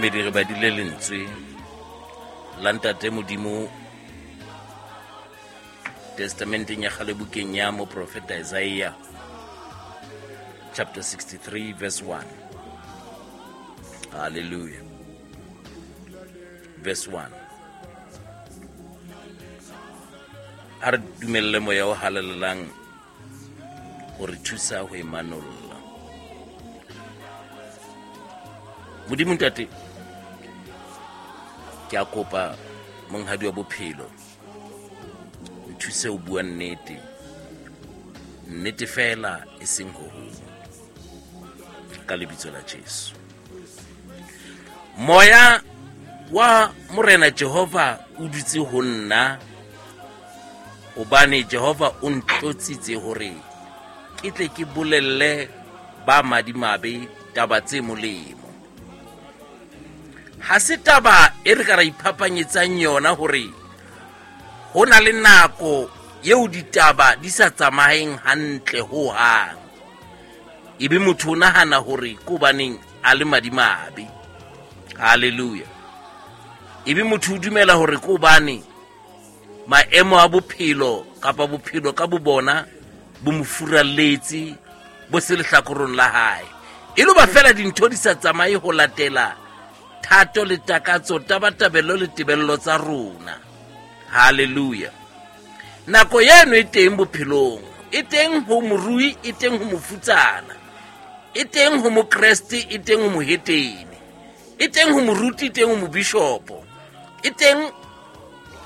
Momamedi, re badile lentswe la Ntate Modimo Testamenteng ya kgale, bukeng ya moprofeta Isaiah chapter 63 verse 1. Hallelujah. Verse 1. A re dumelle moya o halalelang ho re thusa ho e manolla. Modimo Ntate, ke a kopa monghadi wa bophelo, nthuse ho bua nnete, nnete fela e seng ho hong, ka lebitso la Jesu. Moya wa Morena Jehova o dutse ho nna, hobane Jehova o ntlotsitse hore ke tle ke bolelle ba madimabe taba tse molemo. Ha se taba e re ka ra iphapanyetsang yona hore ho na le nako eo ditaba di sa tsamayeng hantle ho hang, ebe motho o nahana hore ke hobaneng a le madimabe. Hallelujah. Ebe motho o dumela hore ke hobane maemo a bophelo kapa bophelo ka bobona bo mo furalletse, bo se lehlakorong la hae, e lo ba fela dintho di sa tsamaye ho latela thato le takatso, tabatabelo le tebello tsa rona. Hallelujah. Nako eno e teng bophelong, e teng ho morui, e teng ho mofutsana, e teng ho mokreste, e teng ho mohetene, e teng ho moruti, e teng ho mobishopo, e teng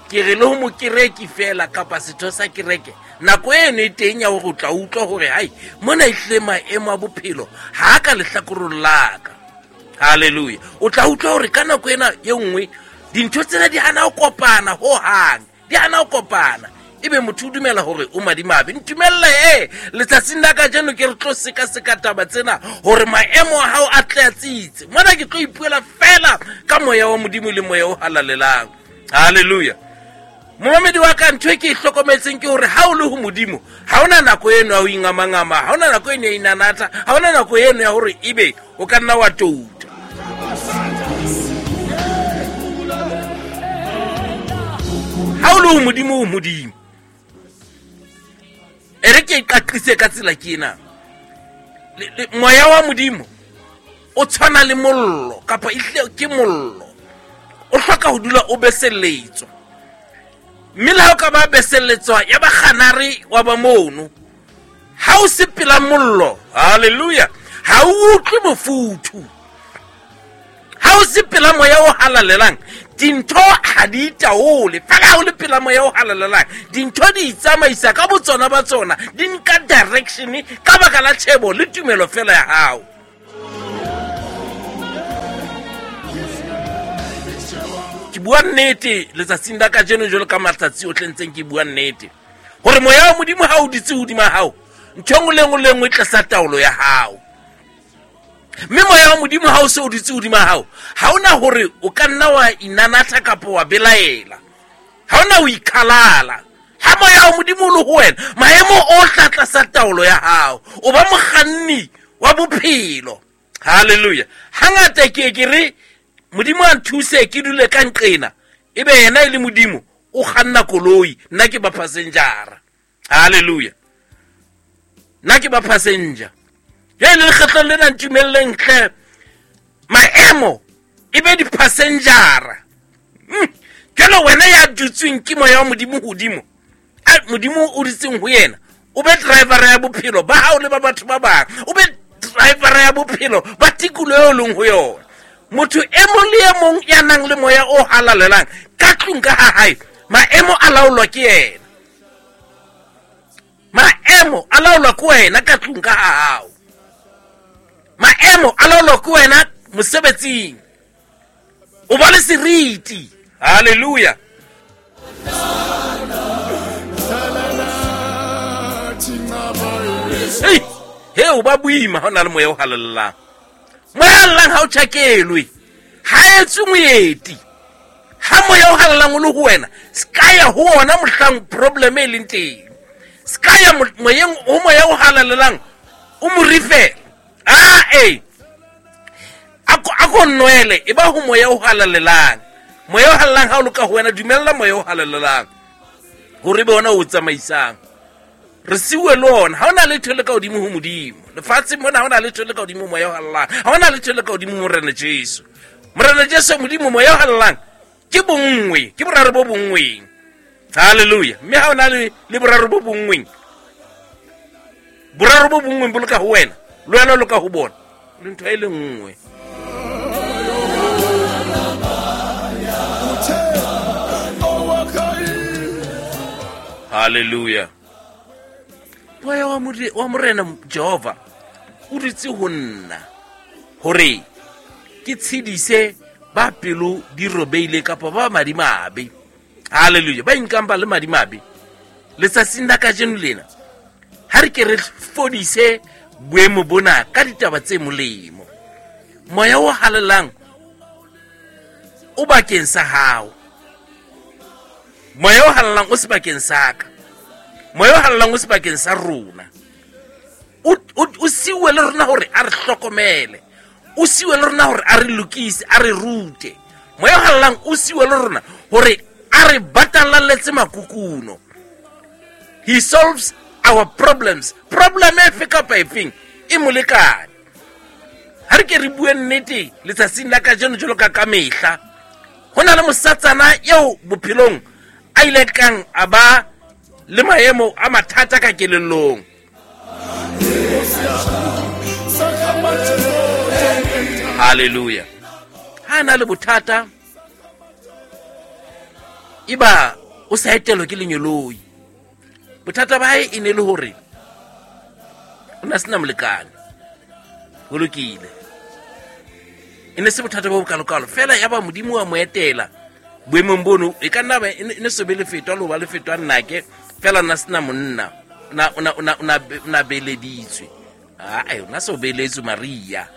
ke re le ho mokereki fela kapa setho sa kereke. Nako eno e teng ya hore o tla utlwa hore hai mona ehlile maemo a bophelo ha a ka lehlakorong la ka. Hallelujah. O tla utlwa hore ka nako ena e nngwe dintho tsena di hana ho kopana ho hang, di hana ho kopana, ebe motho o dumela hore o madimabe. Ntumelle e letsatsing la kajeno ke re tlo sekaseka taba tsena hore maemo a hao a tle a tsitse. Mona ke tlo ipuela fela ka moya wa Modimo le moya o halalelang. Hallelujah. Momamedi wa ka, ntho e ke e hlokometseng ke hore ha o le ho Modimo ha ona nako eno ya ho ingamangama, ha ona nako eno ya inanatha, ha ona nako eno ya hore ebe o ka nna wa touta. Ha o le ho Modimo, o Modimo. E re ke e qaqise ka tsela ke ena. Moya wa Modimo o tshwana le mollo, kapa ehlile ke mollo. O hloka ho dula o beselletswa. Mme le ha o ka ba beselletswa ya ba kganare wa ba mono, ha o se pela mollo, hallelujah, ha o utlwe mofuthu. Ha o se pela moya o halalelang, dintho ha di itaole. Fela ha o le pela moya o halalelang, dintho di itsamaisa ka botsona ba tsona, di nka direction ka baka la tjhebo le tumelo fela ya hao. Ke bua nnete letsatsing la kajeno jwalo ka matsatsi ohle ntseng ke bua nnete, hore moya wa Modimo ha o dutse hodima hao, ntho e nngwe le nngwe le nngwe e tlasa taolo ya hao. Mme moya wa Modimo ha o se o dutse hodima hao, ha ona hore o ka nna wa inanatha kapa wa belaela, ha ona ho ikhalala. Ha moya wa Modimo o le ho wena, maemo ohle a tlasa taolo ya hao, o ba mokganni wa bophelo. Hallelujah. Hangata ke ke re Modimo a nthuse ke dule ka nqena, ebe yena e le Modimo o kganna koloi, nna ke ba passenger. Hallelujah. Nna ke ba passenger. Jwale le lekgetlong lena ntumelleng hle maemo e be di-passenger. Jwale wena ya dutsweng ke moya wa Modimo hodimo, a Modimo o dutseng ho yena, o be driver ya bophelo ba hao le ba batho ba bang, o be driver ya bophelo ba tikoloho eo leng ho yona. Motho e mong le e mong ya nang le moya o halalelang ka tlung ka ha hae, maemo a laolwa ke yena. Maemo a laolwa ke wena ka tlung ka ha hao. Maemo a laolwa ke wena mosebetsing. O ba le seriti. Hallelujah. Hey, he o ba boima ha o na le moya o halalelang. Moya o halalelang ha o tjhakelwe, ha etswe moeti. Ha moya o halalelang o le ho wena, se ka ya ho ona mohlang problem e leng teng. Se ka ya moyeng, ho moya o halalelang, o mo rifela. Ah, eh. A ko nwele, e ba ho moya o halalelang. Moya o halalelang ha o loka ho wena, dumella moya o halalelang hore be ona o tsamaisang. Re siuwe le ona. Ha ona letho le ka hodimo ho Modimo lefatsheng mona, ha ona letho le ka hodimo moya o halalelang, ha ona letho le ka hodimo Morena Jesu. Morena Jesu, Modimo, moya o halalelang ke bonngwe, ke boraro bo bonngweng. Halleluja. Mme ha ona le boraro bo bonngweng, boraro bo bonngweng bo loka ho wena, le wena o loka ho bona, le ntho e le nngwe. Halleluja. Moya wa Morena Jehova o dutse ho nna hore ke tshedise ba pelo di robeile kapa ba madimabe. Halleluja. Ba inkang ba le madimabe letsatsing la kajeno lena, ha re ke re fodise boemo bona ka ditaba tse molemo. Moya o halalelang o bakeng sa hao, moya o halalelang o sebakeng sa ka, moya o halalelang o sebakeng sa rona. O siuwe le rona hore a re hlokomele, o siuwe le rona hore a re lokise, a re rute. Moya o halalelang o siuwe le rona hore a re batalaletse makukuno. He solves our problems. Problem efe kapa efeng e molekane. Ha re ke re bue nnete letsatsing la kajeno jwalo ka kamehla. Ho na le mosatsana eo bophelong a ile kang a ba le maemo a mathata ka kelellong. Halleluja. Ha na le bothata, eba o sa etelwa ke lenyoloi. Bothata ba hae e ne le hore o na sena molekane. Ho lokile, e ne se bothata bo bokalokalo fela, ya ba Modimo wa mo etela boemong bono. E ka nna ba e ne se be lefetwa le ho ba lefetwa nnake fela, na sena monna, o na beleditswe. Ae, o na se o beletswe Maria.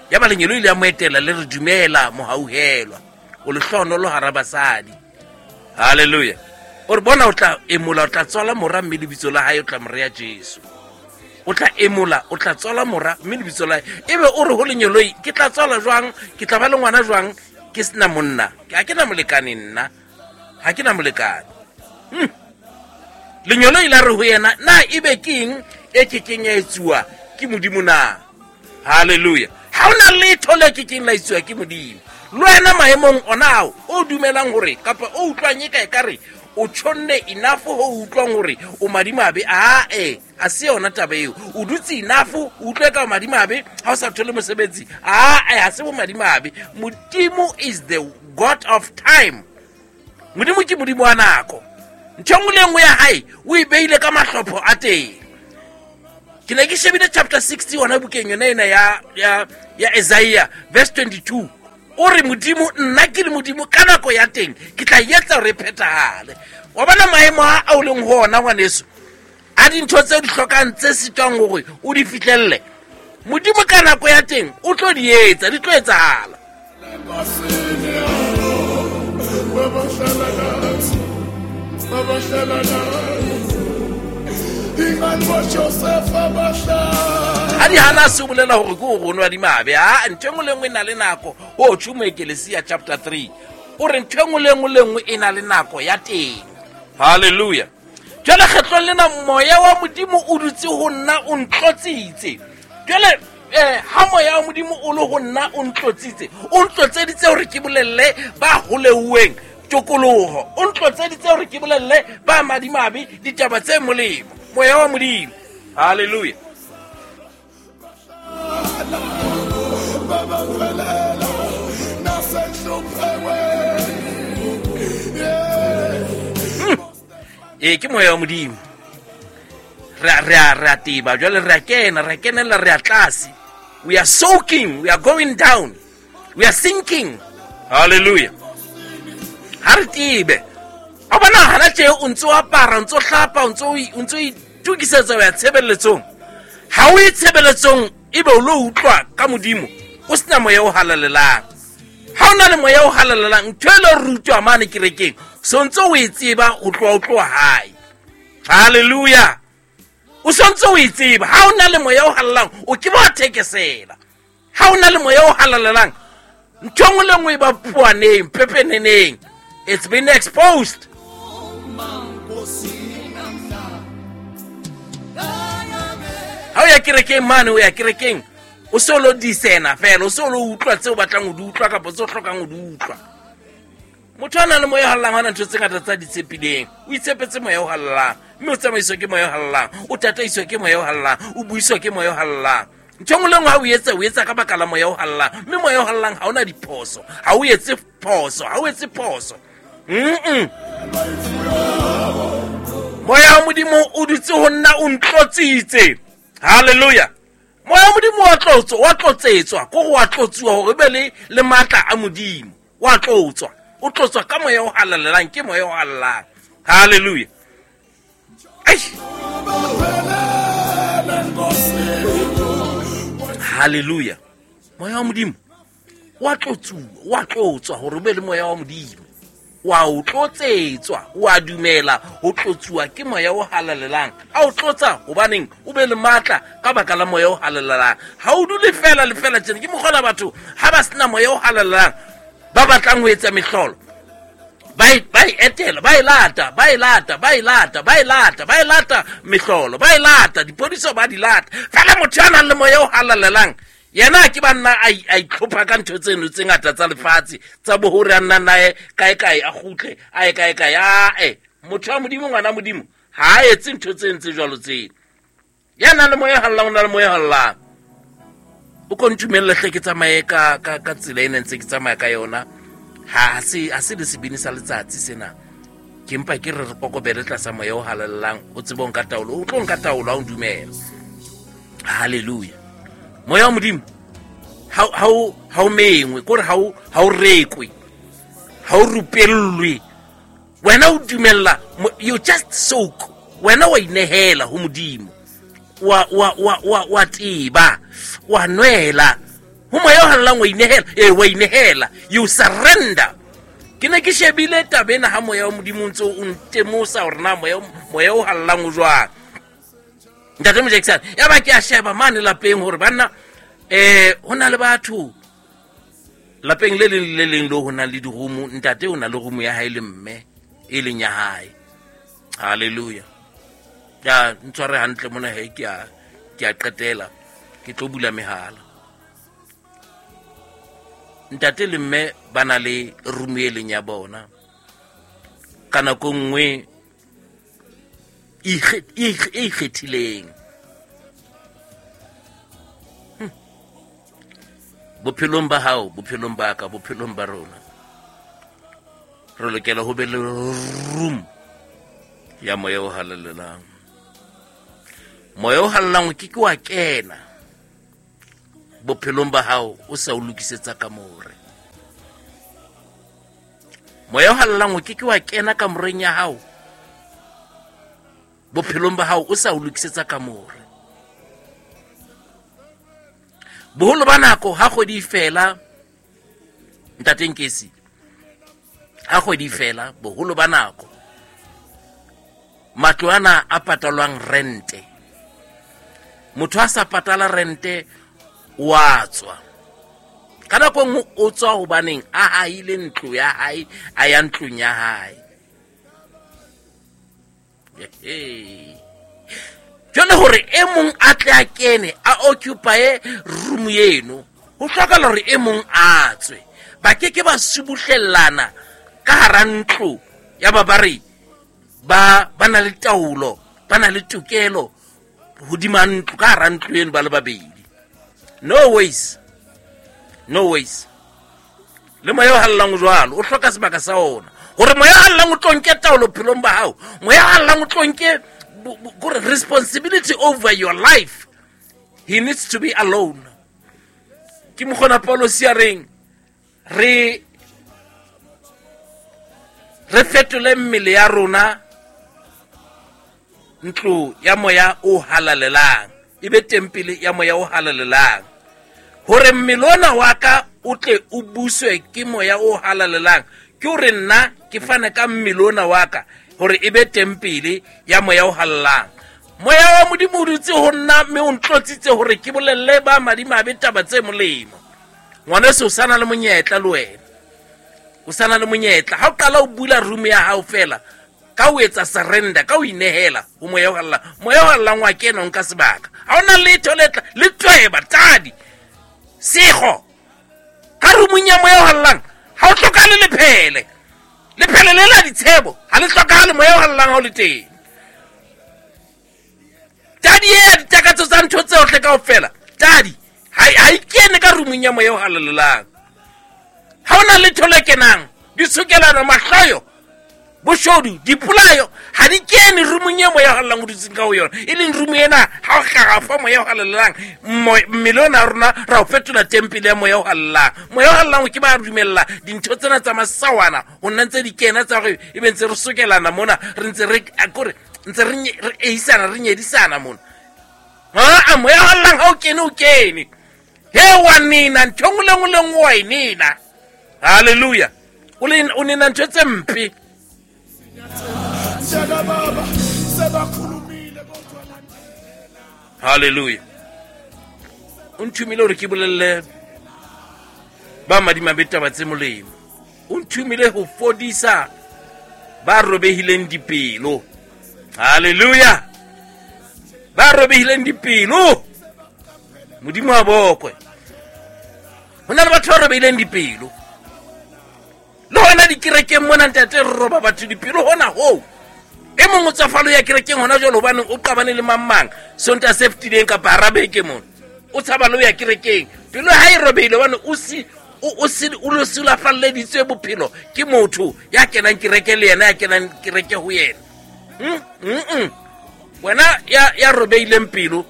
Ya ba lenyeloi le ya mo etela le re, dumela mohauhelwa, o lehlohonolo hara basadi. Halleluja. O re bona o tla emola, o tla tswala mora, mme lebitso la hae o tla mo rea Jesu. O tla emola, o tla tswala mora, mme lebitso la hae. Ebe o re ho lenyeloi, ke tla tswala jwang, ke tla ba le ngwana jwang, ke sena monna, ha ke na molekane nna, ha ke na molekane. Lenyeloi la re ho yena, na ebe ke eng e kekeng ya etsuwa ke Modimo na? Halleluja. Ha ona letho le kekeng la etsuwa ke Modimo. Le wena maemong ona ao o dumelang hore kapa o utlwang e ka ekare o tjhonne enough ho utlwang hore o madimabe, ae, a se yona taba eo. O dutse enough, o utlwe ka o madimabe ha o sa thole mosebetsi, ae, ha se bo madimabe. Modimo is the God of time. Modimo ke Modimo wa nako. Ntho e nngwe le nngwe ya hae o e beile ka mahlopho a teng. Ke ne ke shebile chapter 60 hona bukeng yona ena ya Isaiah verse 22. O re Modimo, nna ke le Modimo ka nako ya teng ke tla etsa hore e phethahale. Wa bona maemo a o leng ho ona ngwaneso, a dintho tse di hlokang tse sitwang hore o di fihlelle, Modimo ka nako ya teng o tlo di etsa, di tlo etsahala. Ha di hana se bolela hore ke o rona di mabe. Ha ntho e nngwe le nngwe e na le nako. O tjho Moekelesia chapter 3 o re ntho e nngwe le nngwe le nngwe e na le nako ya teng. Halleluja. Jwale kgetlong lena moya wa Modimo o dutse ho nna, o ntlotsitse. Jwale ha moya wa Modimo o le ho nna, o ntlotsitse, o ntlotseditse hore ke bolelle ba holeuweng tokoloho, o ntlotseditse hore ke bolelle ba madimabe ditaba tse molemo. Moya wa Modimo. Halleluja. Ke moya wa Modimo. Re a teba jwale, re a kena, re a kenella, re a tlase. We are soaking, we are going down, we are sinking. Hallelujah. Ha re tebe. O bona hana tje o ntso apara, o ntso hlapa, o ntso itukisetsa ho ya tshebeletsong. Ha o ye tshebeletsong ebe o lo utlwa ka Modimo, o sena moya o halalelang. Ha o na le moya o halalelang, ntho e le rutwa mane kerekeng, so ntso o e tseba ho tloha o tloha hae. Hallelujah. O sontse o e tseba. Ha o na le moya o halalelang, o ke ba thekesela. Ha o na le moya o halalelang, Ntho e nngwe le nngwe e ba poaneng, pepeneneng. It's been exposed. Ha o ya kerekeng mane, o ya kerekeng o se o lo disena fela, o se o lo utlwa tse o batlang ho di utlwa kapa tse o hlokang ho di utlwa. Motho a nang le moya o halalelang ha ona ntho tse ngata tsa di tshepileng. O itshepetse moya o halalelang, mme o tsamaiswa ke moya o halalelang, o tataiswa ke moya o halalelang, o buiswa ke moya o halalelang. Ntho e nngwe le nngwe ha o etsa, o etsa ka baka la moya o halalelang, mme moya o halalelang ha ona diphoso, ha o etse phoso, ha o etse phoso. Moya wa Modimo o dutse ho nna, o ntlotsitse. Hallelujah. Moya wa Modimo wa tlotswa, wa tlotsetswa, ko go wa tlotsuwa hore be le matla a Modimo. Wa tlotswa, o tlotswa ka moya o halalelang, ke moya o halalelang. Hallelujah. Eish. Hallelujah. Moya wa Modimo wa tlotsuwa, wa tlotswa hore o be le moya wa Modimo. Wa o tlotsetswa, wa dumela ho tlotsuwa ke moya o halalelang. A o tlotsa hobaneng o be le matla ka baka la moya o halalelang. Ha o dule fela le fela tjena, ke mokgwa batho ha ba sena moya o halalelang ba batlang ho etsa mehlolo, ba e, ba e etela, ba e lata, ba e lata, ba e lata, ba e lata, ba e lata mehlolo, ba e lata dipodiso, ba di lata. Fela motho ya nang le moya o halalelang yena ke banna a itlhopha ka ntho tseno tse ngata tsa lefatshe tsa bohore a nna naye kae kae, a kgutle a ye kae kae. Ae, motho wa Modimo, ngwana Modimo, ha a etse ntho tse ntse jwalo tseno. Ya nang le moya o halalelang, o na le moya o halalelang. O ko ntumelle hle ke tsamaye ka tsela e ne ntse ke tsamaya ka yona. Ha se le sebini sa letsatsi sena. Ke mpa ke re re kokobele tlasa moya o halalelang, o tsebe ho nka taolo, o tlo nka taolo ha o dumela. Hallelujah. Moya wa Modimo ha o mengwe, kore ha o rekwe, ha o rupellwe. Wena o dumella, you just soak. Wena wa inehela ho Modimo. Wa teba, wa nwela. Ho moya o halalelang wa inehela, wa inehela. You surrender. Ke ne ke shebile taba ena ha moya wa Modimo o ntse o ntemosa hore na moya o halalelang o jwang. Ntate Mojakisane, ya ba ke a sheba mane lapeng hore banna, ho na le batho lapeng le leng le leng le ho nang le dirumu. Ntate o na le rumu ya hae le mme e leng ya hae. Hallelujah. Ya ntshware hantle mona he, ke a qetela, ke tlo bula mehala. Ntate le mme ba na le rumu e leng ya bona. Ka nako nngwe e ikgethileng. Bophelong ba hao, bophelong ba ka, bophelong ba rona, re lokela ho be le room ya moya o halalelang. Moya o halalelang o ke ke wa kena bophelong ba hao o sa o lokisetsa kamore. Moya o halalelang o ke ke wa kena kamoreng ya hao bophelong ba hao o sa o lokisetsa kamore. Boholo ba nako ha kgwedi e fela, Ntate Nkesi, ha kgwedi e fela, boholo ba nako matlo ana a patalwang rente, motho a sa patala rente wa tswa. Ka nako e nngwe o tswa hobaneng a hahile ntlo ya hae, a ya ntlong ya hae. Jwale hore e mong a tle a kene a occupye room eno, ho hlokahala hore e mong a tswe. Ba ke ke ba subuhlellana ka hara ntlo ya ba ba re ba na le taolo, ba na le tokelo hodima ntlo, ka hara ntlo eno ba le babedi. No ways, no ways. Le moya o halalelang o jwalo, o hloka sebaka sa ona. Hore moya o halalelang o tlo nke taolo bophelong ba hao, moya o halalelang o tlo nke kore responsibility over your life. He needs to be alone. Ke mokgona Paulosi a reng re fetole mmele ya rona ntlo ya moya o halalelang, e be tempele ya moya o halalelang, hore mmele ona wa ka o tle o buswe ke moya o halalelang. Ke hore nna ke fane ka mmele ona wa ka hore e be tempele ya moya o halalelang. Moya wa Modimo o dutse ho nna mme o ntlotsitse hore ke bolelle ba madimabe taba tse molemo. Ngwaneso o sana le monyetla le wena. O sana le monyetla. Ha o qala o bula room ya hao fela, ka o etsa surrender, ka o inehela ho moya o halalelang. Moya o halalelang wa kena o nka sebaka. Ha hona letho le tla le tweba tadi. Sego. Ka roomong ya moya o halalelang ha o hlokahale lephele. Lephele le la ditshebo ha le hlokahale moya o halalelang ha o le teng. Tadi e ditakatso tsa ntho tsohle kaofela. Tadi ha e kene ka roomong ya moya o halalelang. Ha hona letho le kenang, ditshokelano, mahloyo, boshodu, dipolayo ha di kene roomong e moya o halalelang o dutseng ka ho yona. E leng room ena ha o hlaha fa moya o halalelang, mmele ona rona ra o fetola tempele ya moya o halalelang. Moya o halalelang o ke ba dumella dintho tsena tsa masawana ho nna ntse di kena tsa hore e be ntse re sokelana mona, re ntse re kore ntse re eisana, re nyedisana mona. Ha moya o halalelang ha o kene o kene. He wa nina ntho nngwe le nngwe le nngwe wa e nina. Hallelujah. O nina ntho tse mpe. Hallelujah. O nthomile hore ke bolelle ba madimabe taba tse molemo. O nthomile ho fodisa ba robehileng dipelo. Hallelujah. Ba robehileng dipelo. Modimo a bokwe. Ho na le batho ba robehileng dipelo. Le hona dikerekeng mona ntate re roba batho dipelo hona hoo. E mong o tswafalo ya kerekeng hona jwale hobane o qabane le mang mang Sontaha se fetileng kapa hara beke mona. O tshaba le ho ya kerekeng. Pelo ha e robehile hobane o si o lo sulafalleditswe bophelo ke motho ya kenang kereke le yena ya kenang kereke ho yena. Wena ya robehileng pelo,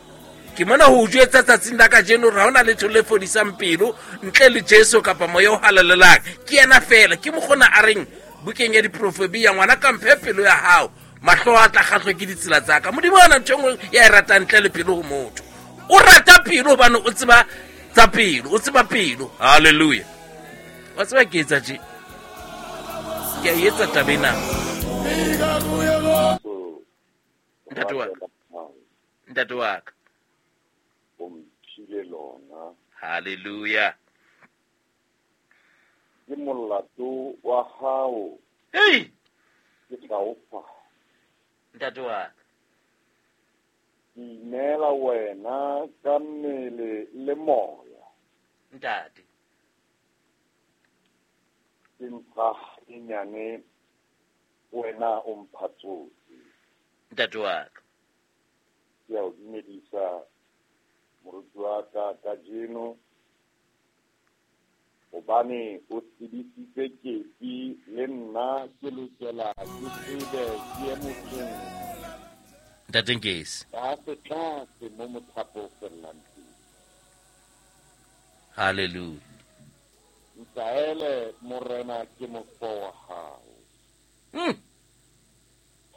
ke mona ho o jwetsa tsatsing la kajeno hore ha hona letho le fodisang pelo ntle le Jesu kapa moya o halalelang. Ke yena fela. Ke mokgona a reng bukeng ya diprofebia, ngwana ka mphe pelo ya hao, mahlo a tla kgahlwa ke ditsela tsa ka. Modimo ha ona ntho e nngwe ya e ratang ntle le pelo ho motho. O rata pelo hobane o tseba tsa pelo, o tseba pelo. Hallelujah. Wa tseba ke etsa tje. Ke a etsa taba ena. Ntate wa ka. Ntate wa ka. O mphile lona. Hallelujah. Ke molato wa hao. Hey! Ke tla o fa. Ntate wa ka. Ke ineela wena ka mmele le moya. Ntate. Ke mpha e nyane wena o mpha tsohle. Ntate wa ka. Ke a o dumedisa moruti wa ka kajeno, hobane o tsebisitse kepi le nna ke lokela ke tsebe ke ye motseng. Ntate Nkesi. Tlase tlase mo mothapo o fellang teng. Hallelujah. Ntaele morena ke mofo wa hao.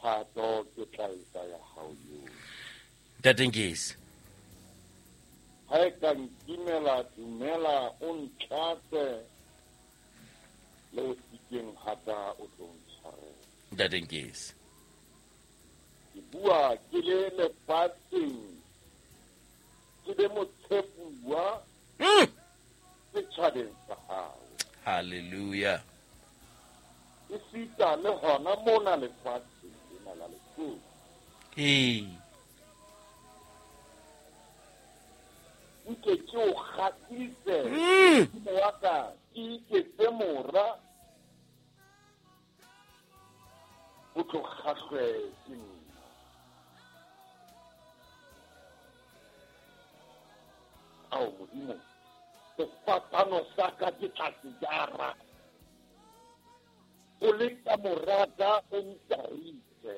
Thato ke tla etsa ya hao yohle. Ntate Nkesi. Ha e ka nkimela dumela o ntlatse le o sikeng hata o tlo ntshwarela. Ntate Nkesi. Ke bua ke le lefatsheng, ke be motshepuwa setjhabeng sa hao. Hallelujah. Esita le hona mona lefatsheng lena la Lesotho. Ee. Nke ke o kgahlise, Modimo wa ka, ke iketse mora, o tlo kgahlwe ke nna. Ao Modimo, sefapano sa ka ke tla se jara. O le ka moraka o ntarise.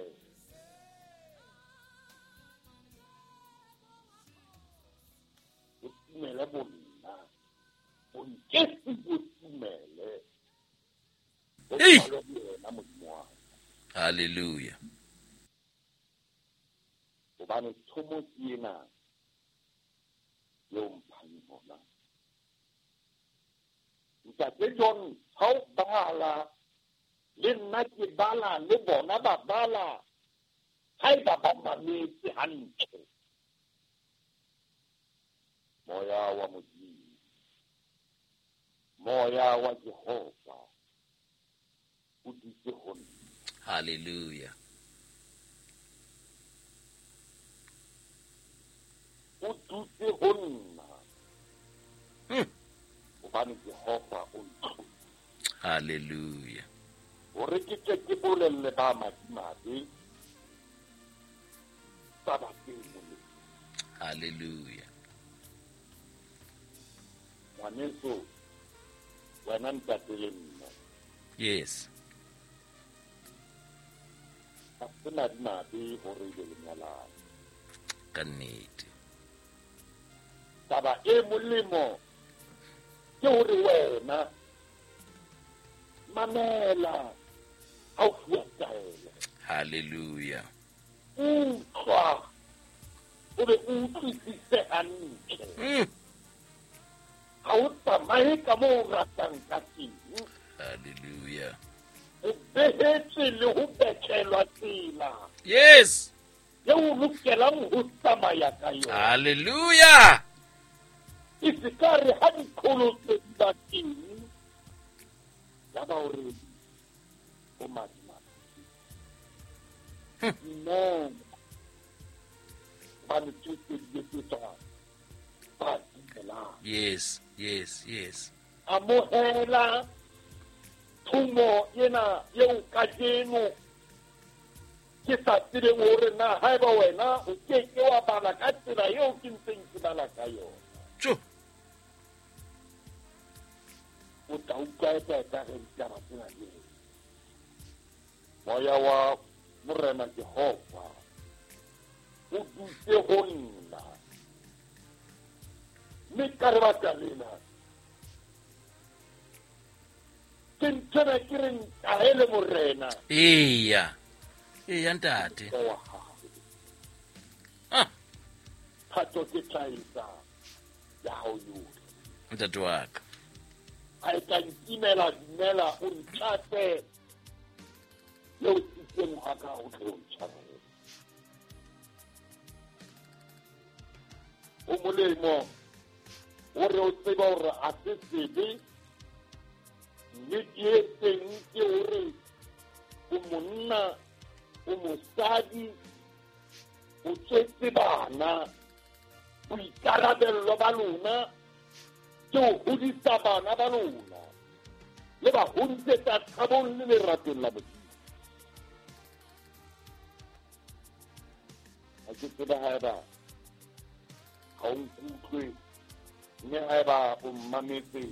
O tumele bonna, o nkese o tumele. O tshware le wena Modimo wa ka. Hallelujah. Hobane thomo ke ena eo mphang yona. Ntate John, ha o bala le nna ke bala le bona ba bala, haeba ba mametse hantle. Moya wa Modimo Moya wa Jehova o dutse ho nna. Hallelujah. O dutse ho nna. Hobane Jehova o ntlotse. Hallelujah. Hore ke tle ke bolelle ba madimabe taba tse molemo. Hallelujah. Ngwaneso, wena ntate le nna. Yes. Ha se madimabe hore ebe le nyalane. Ka nnete. Taba e molemo ke hore wena mamela ha o fuwa taelo. Hallelujah. Utlwa o be o utlwisise hantle. Ha o tsamaye ka moo o ratang ka teng. Hallelujah. O behetswe le ho betjhelwa tsela. Yes. Eo o lokelang ho tsamaya ka yona. Hallelujah. E se ka re ha diqholotso di ba teng, ya ba hore o madimabe. No. Hobane tsohle di etsetswa ba dumelang. Yes, yes, yes. Amohela thomo ena eo kajeno ke sa tsebeng hore na haeba wena o ke ke wa bala ka tsela eo ke ntseng ke bala ka yona. Tjo. O tla utlwa eka re ditaba tsena di re. Moya wa Morena Jehova o dutse ho nna. Mme ka lebaka lena ke nthwena ke re ntahele Morena. Eya. Eya ntate. Ah. Thato ke tla etsa ya hao yohle. Ntate wa ka. Ha e ka ntimela dumela o ntlatse le o sitseng ha ka o tle o ntshwarele. O molemo hore o tsebe hore ha se sebe, mme ke e teng ke hore o monna, o mosadi, o tswetse bana, boikarabello ba lona ke ho hodisa bana ba lona le ba hodisetsa thabong le leratong la Modimo. Ha ke tsebe haeba ha o nkutlwe, mme haeba o mmametse,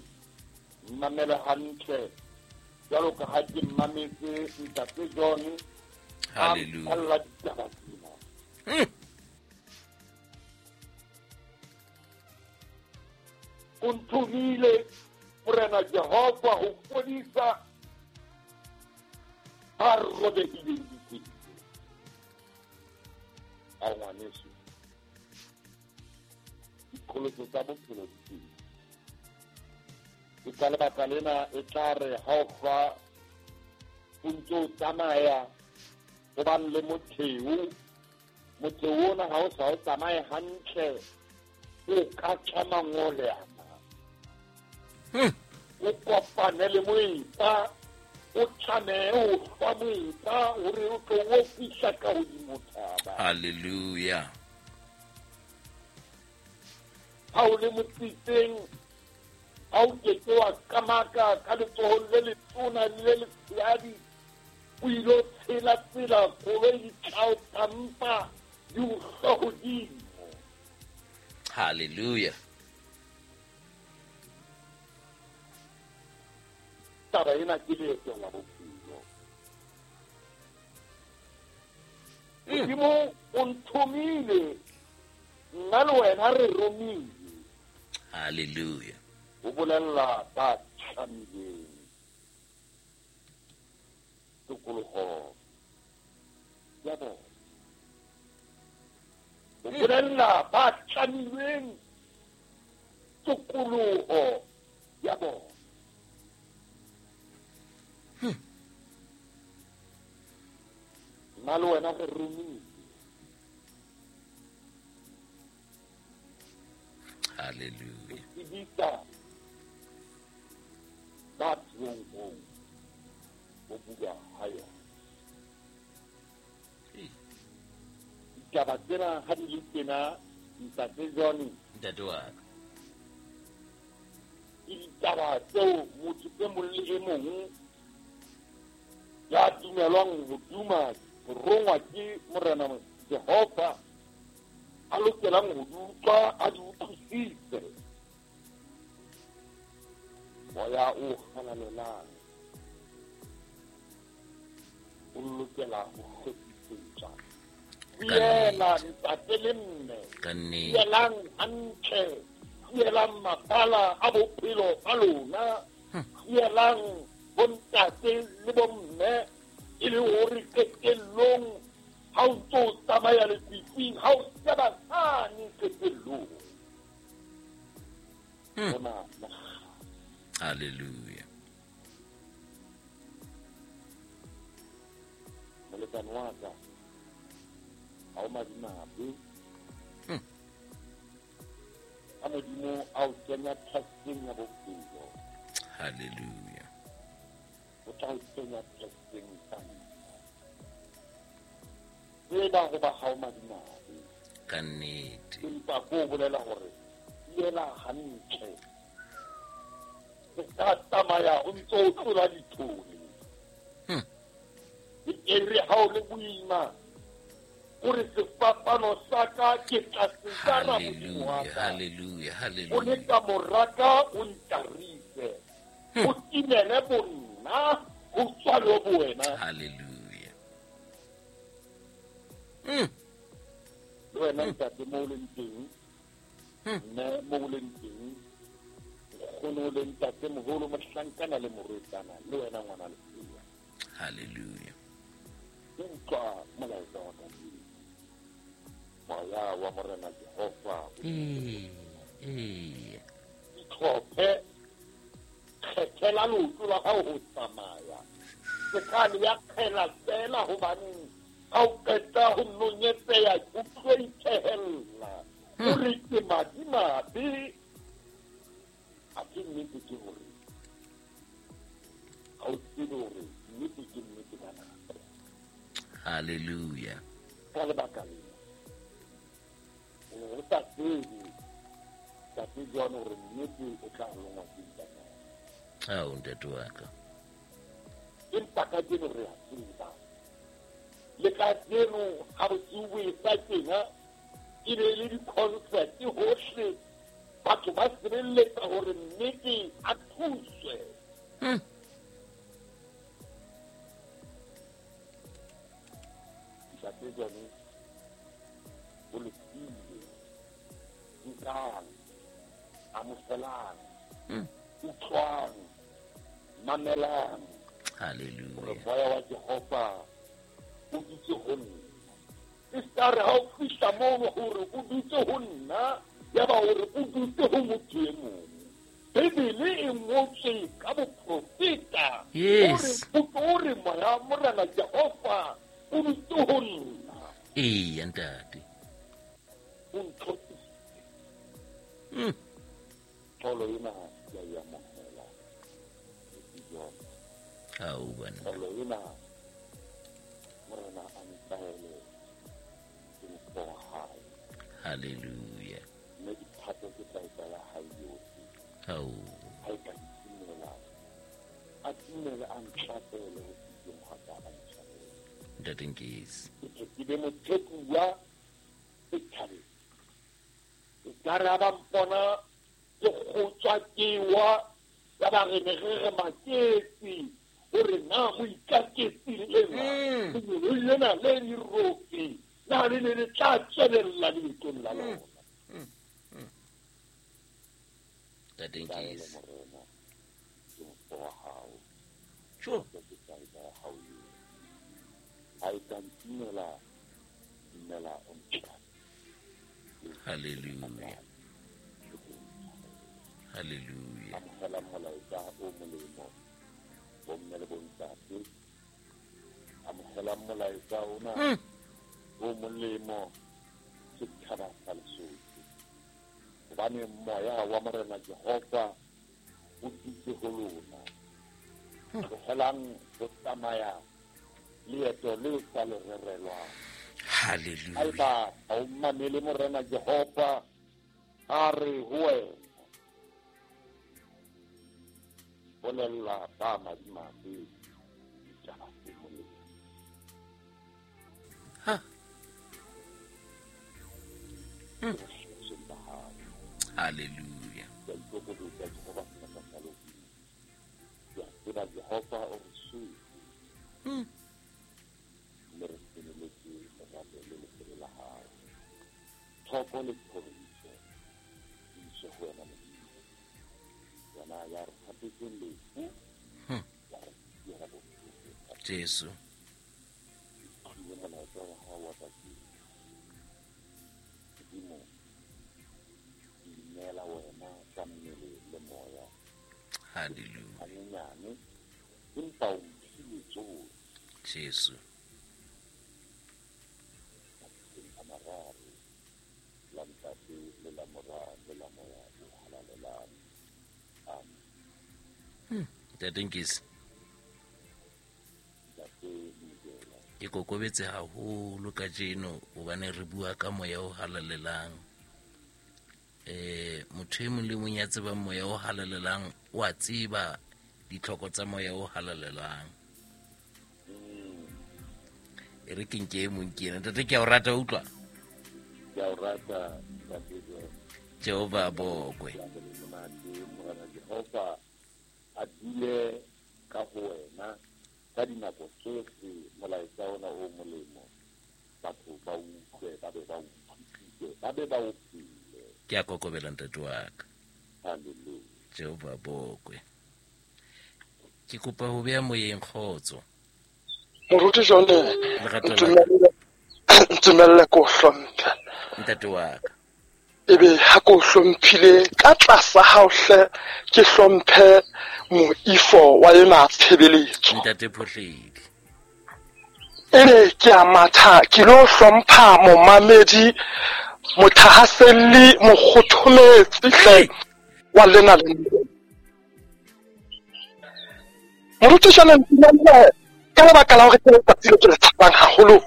mmamele hantle jwalo ka ha ke mmametse ntate John. Hallelujah. A ditaba tsena. O nthomile Morena Jehova ho fodisa ba robehileng dipelo. A ngwaneso, diqholotso tsa bophelo di teng. Ke ka lebaka lena e tla re ha o fa o ntse o tsamaya ho bang le motheo, motheo ona ha o sa o tsamaye hantle, o ka tjha mangole ana. O kopane le moepa, o tlamehe ho hlwa moepa hore o tlo o fihla ka hodimo thaba. Hallelujah. Ha o le motsitseng, ha o ke ke wa kamaka ka letsohong le letona le le letshehadi, o ilo tshela tsela koloi di tla o tampa di o hlwa hodimo. Hallelujah. Taba ena ke leeto la bophelo. Modimo o nthomile, nna le wena re romile. Hallelujah. O bolella ba tlamileng tokoloho ya bona. O bolella ba tlamilweng tokoloho ya bona. Nna le wena re romile. Hallelujah. Tsebisa Ba teronkong ho bulwa ha yona. Ditaba tsena ha di le tjena, Ntate John, Ntate wa ka. Ke ditaba tseo motho e mong le e mong ya dumelwang ho duma ho rongwa ke Morena Jehova a lokelang ho di utlwa, a di utlwisise. Moya o halalelang o lokela ho hlophisetswa. Fiela ntate le mme, fielang hantle, fielang mabala a bophelo ba lona, fielang bontate le bomme, e le hore qetellong ha o ntso o tsamaya lefifing, ha o sheba sane qetellong. Bona Hallelujah. Molekane wa ka, ha o madimabe. Ha Modimo a o kenya testeng ya bophelo. Hallelujah. O tla o kenya testeng sa nna. Tseba hoba ha o madimabe. Ka nnete. Empa ko bolela hore fiela hantle. Se ka tsamaya o ntso o tlola dithole. E re ha o le boima, o re sefapano sa ka ke tla se jara Modimo wa ka. Hallelujah, hallelujah. O le ka moraka o ntarise. O timele bonna, o tswalwe bo wena. Hallelujah. Le wena ntate mo o leng teng, mme mo o leng teng, nkgono le ntate moholo, mohlankana le morwetsana, le wena ngwana lesea. Hallelujah. Utlwa molaetsa wa kajeno. Moya wa Morena Jehova. Itlhophe, kgethela leoto la hao ho tsamaya. Se ka le ya kgela feela hobaneng ha o qeta ho nonyetseha, o tlo ithehella. O re ke madimabe. Athe nnete ke hore ha o tsebe hore nnete ke nnete ka nako. Hallelujah. Ka lebaka lena, o sa tsebe Ntate John hore nnete o tla longwa ke ntate. Ao, ntate wa ka. Empa kajeno re a tseba. Le kajeno ha bosiu bo e sa tjena, e be le di-concert hohle, batho ba sebeletsa hore nnete a thuswe. Ntate John, o lokile. Nkang, amohelang, utlwang, mamelang. Hallelujah. Hore moya wa Jehova o dutse ho nna. E ska re ha o fihla mono hore o dutse ho nna, ya ba hore o dutse ho motho e mong. Bibele e ngotswe ka boprofeta. Yes. Hore moya Morena Jehova o dutse ho nna. Eya, ntate. O ntlhophile. Tlolo ena ya e amohela. Ao, bana. Tlolo ena Morena a ntaele ke motho wa hae. Hallelujah. Mme dithato ke tla etsa ya hae yohle. Ao. Ha e ka ntimela, a timele a ntlapele ho fihleng hwa ka a ntshwarele. Ntate Nkesi. Ke tle ke be mothekuwa setjhabeng. E ka re ha ba mpona ke kgotswa ke wa, ya ba re ne re re maketse hore na moikaketsi lena, lengeloi lena le dirope, na le ne le tla tswelella leetong la lona. Ntate Nkesi. Morena, ke motho wa hao. Sure. Ke tla etsa ya hao yohle. Ha e ka ntimela, timela o ntjha. Hallelujah. Hallelujah. Amohela molaetsa o molemo, bomme le bontate. Amohela molaetsa ona o molemo, setjhaba sa Lesotho. Hobane moya wa Morena Jehova o dutse ho lona. Tlohelang ho tsamaya leeto le sa le rerelwang. Hallelujah. Haeba ha o mamele Morena Jehova, a re ho wena, bolella ba madimabe ditaba tse molemo. Ha. Bohlosong ba hao. Hallelujah. Ke a ikokobetsa Jehova sebaka sa lehodimo. Ke a tseba Jehova o re shwetse. Mme re senoletse lerato le leholo la hao. Thoko le thoriso di iswe ho wena Modimo. Wena ya re thapetseng lefu, wa re siela bophelo. Jesu. Ke molaetsa wa hao wa kajeno. Modimo, ke ineela wena ka mmele le moya. Hallelujah. Hanyenyane, empa o mphile tsohle. Jesu. Matsatsing a mararo, la Ntate le la Mora le la Moya o Halalelang. Amen. Ntate Nkisi. Ntate Mobela. Ke kokobetse haholo kajeno hobane re bua ka moya o halalelang. Motho e mong le mong ya tsebang moya o halalelang o a tseba ditlhoko tsa moya o halalelang. E re ke nke e mong ke ena. Ntate, ke a o rata, utlwa? Ke a o rata, Ntate. Jehova a bokwe. Ke a le monate, Morena Jehova a dule ka ho wena ka dinako tsohle. Molaetsa ona o molemo, batho ba utlwe, ba be ba utlwisise, ba be ba o phele. Ke a kokobela ntate wa ka. Hallelujah. Jehova a bokwe. Ke kopa ho beha moyeng kgotso. Moruti John, Lerato la ka. ntumelle ko hlomphe. Ntate wa ka. Ebe ha ko hlomphile ka tlasa hao hle, ke hlomphe moifo wa ena tshebeletso. Ntate Phohledi. Ebe ke a matha, ke lo hlompha momamedi, mothahaselli, mokgothometsi hle wa lena le. Moruti John, ntumelle ka lebaka la hore ke letsatsi le ke le tshabang haholo,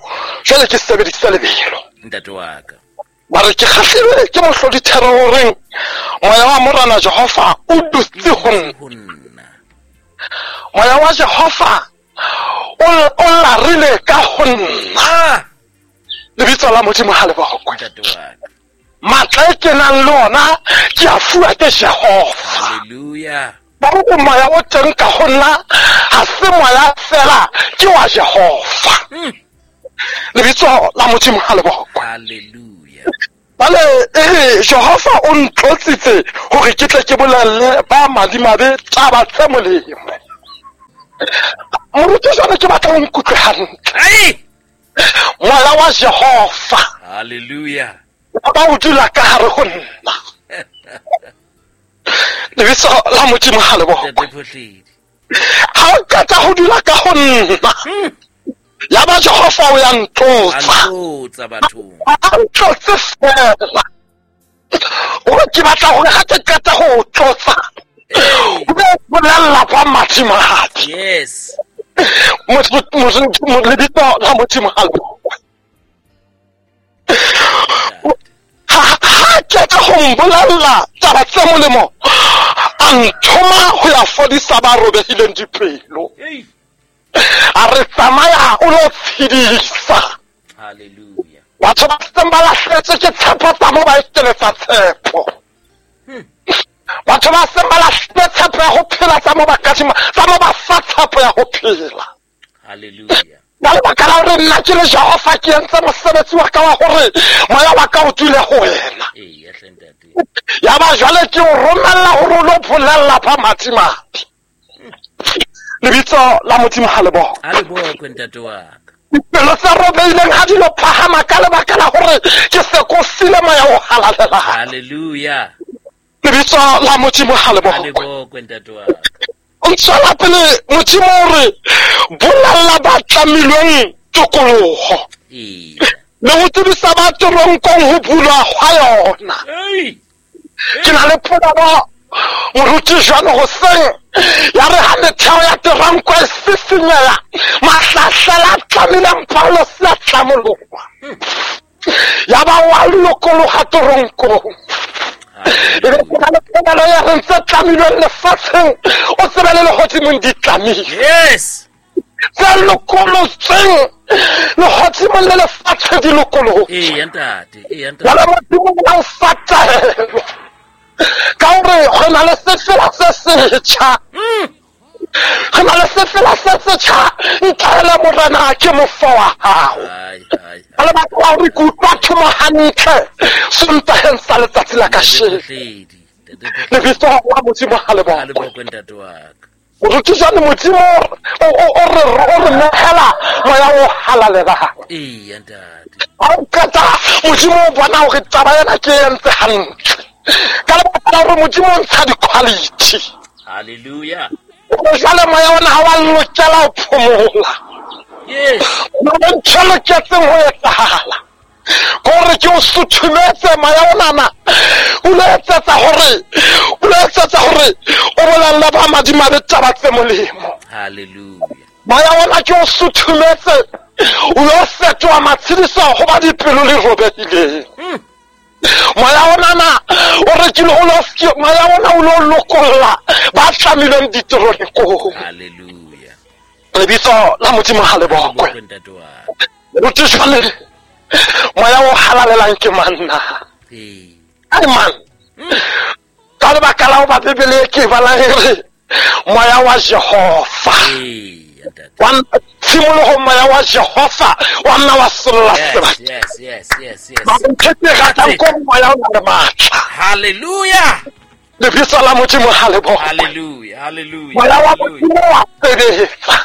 jwale ke sebedisa lebelo. Ntate wa ka. Mare ke kgahlilwe ke mohlodithero o reng moya wa Morena Jehova o dutse ho nna. Ho nna. Moya wa Jehova o larile ka ho nna. Lebitso la Modimo ha le bokwe. Ntate wa ka. Matla e ke nang le ona ke a fuwa ke Jehova. Hallelujah. Ba re moya o teng ka ho nna ha se moya fela, ke wa Jehova. Lebitso la Modimo ha le bokwe. Hallelujah. Bale Jehova o ntlotsitse hore ke tle ke bolelle ba madimabe taba tse molemo. Moruti jwale ke batla o nkutlwe hantle. Moya wa Jehova. Hallelujah. Ba o dula ka hare ho nna. Lebitso la Modimo ha le bokwe. Ntate Phohledi. Ha o qeta ho dula ka ho nna. Ya ba Jehova o ya ntlotsa. A ntlotsa bathong. A ntlotse fela. Hore ke batla hore ha ke qeta ho tlotsa, o be bolella ba madimabe. Yes. Lebitso la Modimo ha le bokwe. Ha qeta ho mbolella taba tse molemo, a nthoma ho ya fodisa ba robehileng dipelo. A re tsamaya o lo tshedisa. Hallelujah. Batho ba seng ba lahletswe ke tshepo tsa mo ba ekeletsa tshepo. Batho ba seng ba lahlile tshepo ya ho phela tsa mo ba kadima, tsa mo ba fa tshepo ya ho phela. Hallelujah. Ka lebaka la hore nna ke le Jehova ke entse mosebetsi wa ka wa hore moya wa ka o dule ho wena. Eya hle ntate. Ya ba jwale ke o romella hore o lo bolella ba madimabe. Lebitso la Modimo ha le bokwe. Ha le bokwe ntate wa ka. Dipelo tse robehileng ha di lo phahama ka lebaka la hore ke se ko file moya o halalelang. Hallelujah. Lebitso la Modimo ha le Ha le bokwe. bokwe ntate wa ka. O ntswela pele Modimo o re bolella ba tlamilweng tokoloho. Eya. Le ho tsebisa ba teronkong ho bulwa hwa yona. Ei. Ke na le polelo moruti jwalo hoseng ya re ha metheo ya Teronko e sisinyeha, mahlahlela a tlamileng Paulosi a tlamoloha. Ya ba wa lokoloha teronkong. E be ke na le polelo ya reng tse tlamilweng lefatsheng, o tsebe le lehodimong di tlamilwe. Yes. Tse lokolotsweng lehodimong le lefatshe di lokolotswe. Eya ntate, eya ntate. Jwale Modimo o fa taelo ka hore re na le sefela se setjha. Re na le sefela se setjha, ntaele Morena ke mofo wa hao. Ka lebaka la hore ke utlwa thomo hantle Sontaheng sa letsatsi la kasheno. Lebitso la Modimo ha le bokwe. Moruti jwale Modimo o re nehela moya o halalelang. Eya ntate. Ha o qeta Modimo o bona hore taba ena ke e entse hantle. Ka lebaka la hore Modimo o ntsha di-quality. Hallelujah. Jwale moya ona ha wa lokela ho phomola. Yes. Ntho e loketseng ho etsahala kore ke o suthumetse moya onana, o lo etsetsa hore o bolelle ba madimabe taba tse molemo. Hallelujah. Moya ona ke o suthumetse, o lo fetoha matshediso ho ba dipelo le robehileng. Moya onana o rekile o lo moya ona o lo lokolla ba tlamilweng diteronkong. Hallelujah. Lebitso la Modimo ha le bokwe. Moruti jwale moya o halalelang ke manna. Ai man. Ka lebaka la hoba Bibele ke balang e re moya wa Jehova. Wa tshimoloho moya wa Jehova wa nna wa solla sebaka. Yes, yes, yes, yes. Ba nthete ratang ko moya o na le matla. Hallelujah. Lebitso la Modimo ha le bokwe. Hallelujah, hallelujah. Moya wa Modimo wa sebetsa.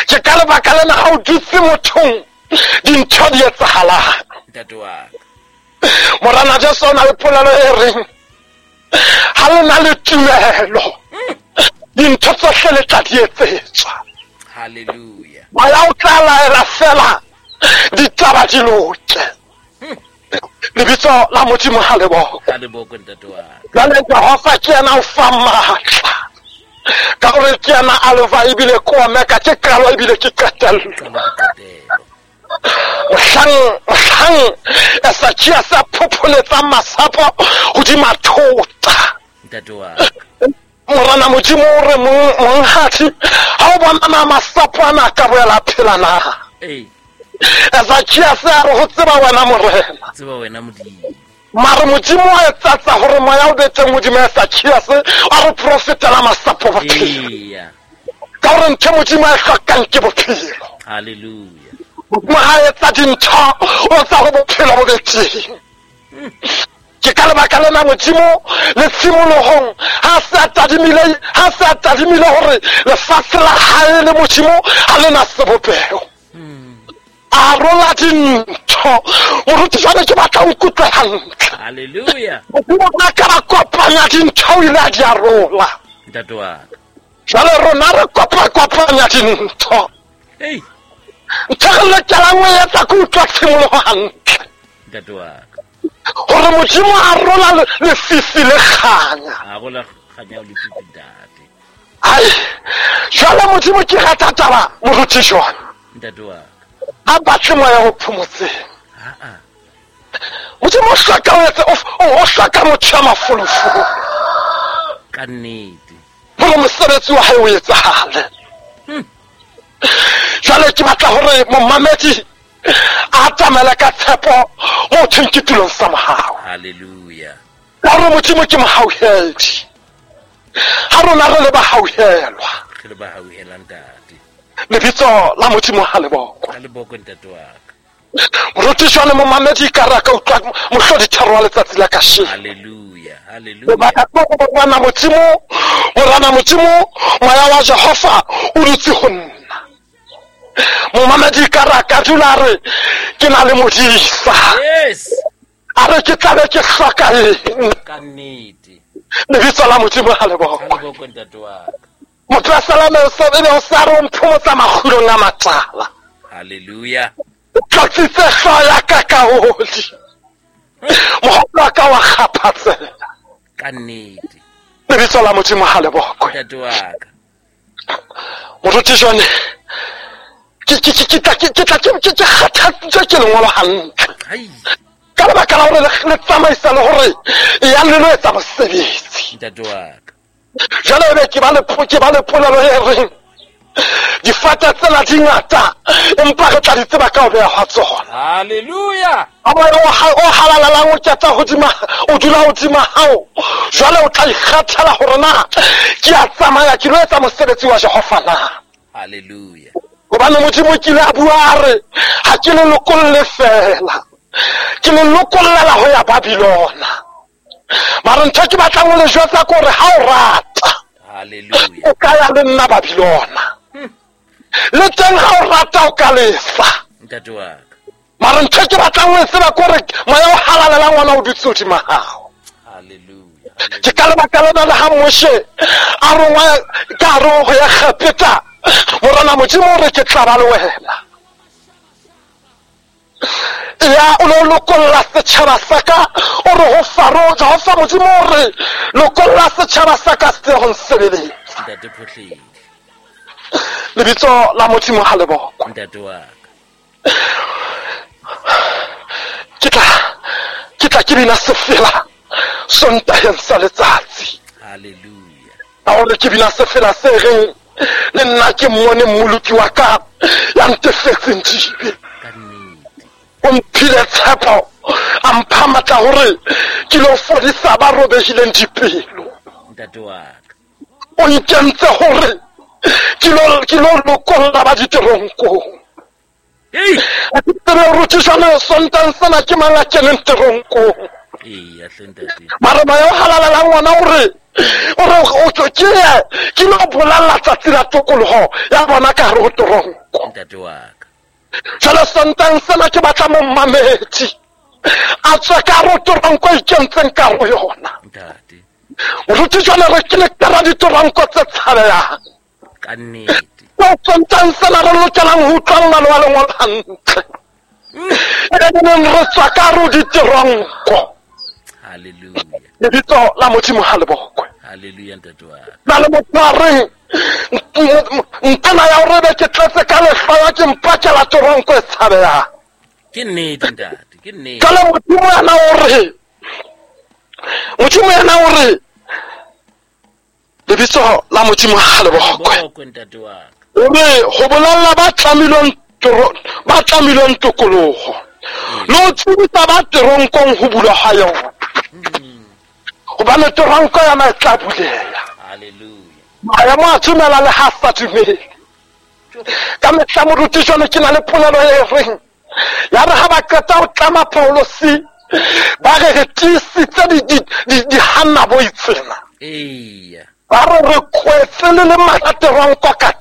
Ke ka lebaka lena ha o dutse mothong dintho di etsahalang. Ntate wa ka. Morena Jesu o na le polelo e reng ha le na le tumelo dintho tsohle le tla di etsetswa. Hallelujah. Moya o tla laela fela ditaba di loke. Lebitso la Modimo ha le bokwe. Ha le bokwe ntate wa ka. Jwale Jehova ke yena o fa matla. Ka hore ke yena alfa ebile ke omega, ke qalo ebile ke qetello. Mohlang Esakia sa phopholetsa masapo hodima thota. Ntate wa ka. Morena Modimo o re monghadi ha o bona masapo ana a ka boela phela na? Ee. Esakia sa re ho tseba wena Morena. Tseba wena Modimo. Mare Modimo wa etsatsa hore moya o be teng hodima Esakia a re profetela masapo bophelo. Eya. Ka hore ntho Modimo a e hlokang ke bophelo. Hallelujah. Modimo ha etsa dintho o tsa ho bophelo bo be teng. Ke ka lebaka lena Modimo le tshimolohong ha se a tadimile hore lefatshe la hae le Modimo ha le na sebopeho. A rola dintho. Moruti jwale ke batla o nkutlwe hantle. Hallelujah. Modimo ha ka ba kopanya dintho o ile a di arola. Ntate wa ka. Jwale rona re kopanya dintho. Hey. Ntho re lokelang ho etsa ke utlwa tshimoloho hantle. Ntate wa ka. Hore Modimo a rola lefifi le kganya. A rola kganya o lefifi ntate. Ai, jwale Modimo ke rata taba moruti jwang. Ntate wa ka. Ha batle moya o phomotseng. Modimo o hloka o hloka motho ya mafolofolo. Ka nnete. Hore mosebetsi wa hae o etsahale. Jwale ke batla hore momamedi a atamele ka tshepo mo thweng ke tulong sa mohau. Hallelujah. Ka hore Modimo ke mohauhedi. Ha rona re le bahauhelwa. Re le bahauhela ntate. Lebitso la Modimo ha le bokwe. Ha le bokwe ntate wa ka. Moruti jwale momamedi ka re ka utlwa mohlodi tharo wa letsatsi la kasheno. Hallelujah, hallelujah. Lebaka ke hore Morena Modimo moya wa Jehova o dutse ho nna. Momamedi ka re ka dula re ke na le modisa. Yes. A re ke tlabe ke hloka eng? Ka nnete. Lebitso la Modimo ha le bokwe. Ha le bokwe ntate wa ka. Motho wa salame o be o sa re o mphomotsa makgulong a matala. Hallelujah. O tlotsitse hlooho ya ka ka oli. Mohopolo wa ka wa kgaphatseha. Ka nnete. Lebitso la Modimo ha le bokwe. Ntate wa ka. Moruti jone ke tla ke kgathatsitswe ke lengolo hantle. Ka lebaka la hore le tsamaisa le hore ya le lo etsa mosebetsi. Ntate wa ka. Jwale ebe ke ba le polelo e reng difata tsena di ngata empa re tla di tseba ka ho beha hwa tsona. Hallelujah. A moya o halalelang o keta hodima, o dula hodima hao. Jwale o tla ikgathela hore na ke a tsamaya ke lo etsa mosebetsi wa Jehova na. Hallelujah. Hobane Modimo kile a bua a re ha ke le lokolle fela, ke le lokollela ho ya Babylona. Mara ntho ke batlang ho le jwetsa ke hore ha o rata, hallelujah, o ka ya le nna Babylona. Le teng ha o rata o ka lefa. Ntate wa ka. Mara ntho ke batlang ho e tseba ke hore moya o halalelang ona o dutse hodima hao. Hallelujah. Ke ka lebaka lena le ha Moshe a rongwa ka hare ho ya Egepeta, Morena Modimo o re ke tla ba le wena. Ya o lo lokolla setjhaba sa ka, o re ho Faro, Jehova Modimo o re lokolla setjhaba sa ka se ho nsebeletsa. Ntate Phohledi. Lebitso la Modimo ha le bokwe. Ntate wa ka. Ke tla ke bina sefela Sontaheng sa letsatsi. Hallelujah. Ka hore ke bina sefela se reng le nna ke mmone mmoloki wa ka ya ntefetseng dibe. Ka nnete. O mphile tshepo, a mpha matla hore ke lo fodisa ba robehileng dipelo. Ntate wa ka. O nkentse hore ke lo lokolla ba diteronkong. Ei! A ke tsebe hore jwale Sontaheng sena ke mang a keneng teronkong. Eya hle ntate. Mara moya o halalelang ona o re ke lo bolella tsatsi la tokoloho ya bona ka hare ho teronko. Ntate wa ka. Jwale Sontaheng sena ke batla momamedi a tswe ka hare ho teronko e ikentseng ka hare ho yona. Ntate. Moruti jwale re ke le kara diteronko tse tshabehang. Ka nnete. Ko Sontaheng sena re lokelang ho utlwa mmalo wa lengolo hantle. E neng re tswa ka hare ho diteronko. Hallelujah. Lebitso la Modimo ha le bokwe. Hallelujah ntate wa ka. Na le motho a reng ntena ya hore be ke tletse ka lehloyo ke mpakela teronko e tshabehang. Ke nnete ntate, ke nnete. Jwale Modimo yena o re lebitso la Modimo ha le bokwe. Bokwe ntate wa ka. O re ho bolella ba tlamilweng tokoloho le ho tsebisa ba teronkong ho bulwa ha yona. Hobane teronko yona e tla buleha. Hallelujah. Maemo a dumela le ha sa dumele. Ka mehla moruti jwale ke na le polelo e reng ya re ha ba qeta ho tlama Paulosi ba re re tiisitse dihanna bo itsena. Eya. Ba re re kwetse le le matla teronko ka